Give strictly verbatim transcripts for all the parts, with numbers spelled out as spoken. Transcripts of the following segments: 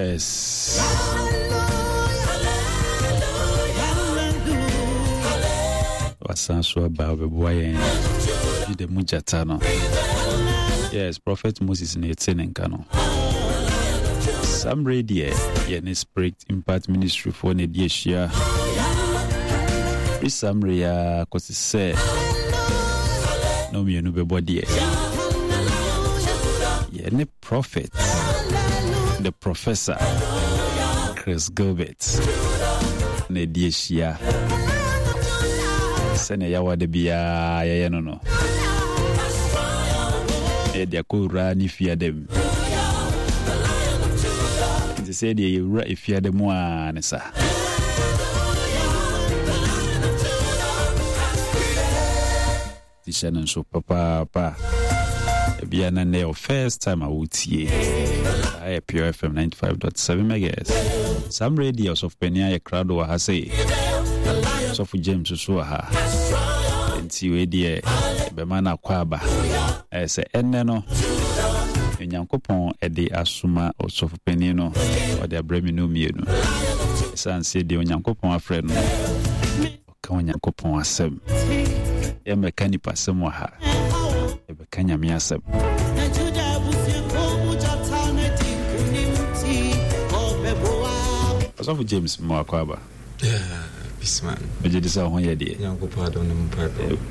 Yes. Wasan so aba ɔbɛboa yɛn Juda mu gyata no. Yes, Prophet Moses na ɛte ne nka no. Saa mmerɛ deɛ yɛne Spirit Impact Ministry foɔ na ɛdi ahyia. Firi saa mmerɛ yi ara kɔsi sɛ na mmienu bɛbɔ deɛ. Yɛne Prophet, the Professor Chris Gilbert na ɛdi ahyia sɛnea yɛawa da biara yɛyɛ no no na yɛde akɔwura ne fiada mu nti sɛ deɛ yɛwura efiada mu a ne sa. Ti hyɛ no nso papaapa. Ebia na nnɛ yɛ first time a wotie. Aha yɛ Pure F M ninety-five point seven megahertz. Saa mmerɛ deɛ ɔsɔfopanin ayɛ krado wɔ ha sei. Ɔsɔfo James nso wɔ ha. Nti wei deɛ ɛbɛma no akɔ aba. Ɛyɛ sɛ ɛnnɛ no Onyankopɔn de asoma ɔsɔfopanin no ɔde abrɛ me no mmienu. Ɛsiane sɛ deɛ Onyankopɔn afrɛ no ka Onyankopɔn asɛm. Yɛmmɛka nipa asɛm wɔ ha. Yɛbɛka Nyame asɛm. Ɔsɔfo James ma wakɔ aba. Megye di sɛ ho yɛ deɛ.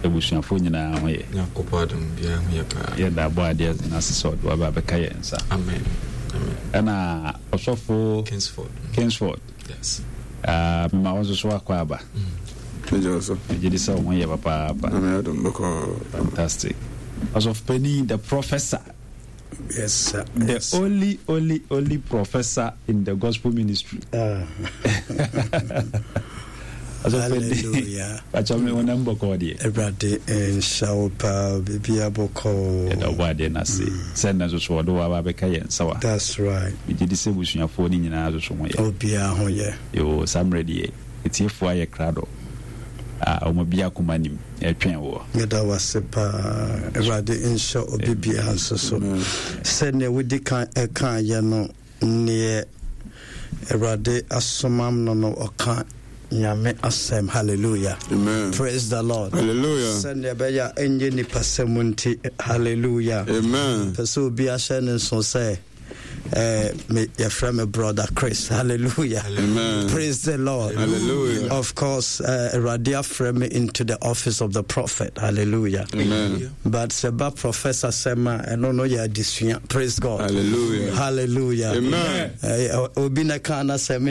Abusuafoɔ nyinaa ho yɛ. Yɛda abɔ adeɛ n'ase sɛ ɔde waba abɛka yɛn nsa. Amen. Ɛna ɔsɔfo Kingsford. Kingsford. Yes. Uh, mema wo nso so akɔ aba. Megye di sɛ wo ho yɛ papaapa. Fantastic. Ɔsɔfo panin, the professor. Yes, sir. The yes. only, only, only professor in the gospel ministry. Uh. Hallelujah. Pacho me wonam bɔkɔɔ deɛ. Awurade nhyɛ wo paa, biribiara bɔkɔɔ. Yɛda ɔbɔ adeɛ no ase sɛ nnɛ nso so ɔde wo aba abɛka yɛn nsa wa. That's right. Megye di sɛ abusuafoɔ no nyinaa nso so ho yɛ. Obiara ho yɛ. Yoo, saa mmerɛ deɛ atiefoɔ ayɛ krado a wɔn bi akoma nim ɛtwɛn woɔ. Meda wo ase paa. Awurade nhyɛ obi biara nso so. Sɛnea wodi kan ɛkaeɛ no, neɛ Awurade asomam no no ɔka Nyame asɛm. Hallelujah. Amen. Praise the Lord. Hallelujah. Sɛnea ɛbɛyɛ a ɛnyɛ nipa sɛm nti. Hallelujah. Amen. Pɛ sɛ obi ahyɛ ne nso sɛ eh, me yɛfrɛ me Brother Chris. Hallelujah. Amen. Praise the Lord. Hallelujah. Of course, uh, Awurade afrɛ me into the office of the prophet. Hallelujah. Amen. But sɛ ba professor sɛm a ɛno no yɛ adesua. Praise God. Hallelujah. Hallelujah. Amen. Eh, obi na ka na sɛ me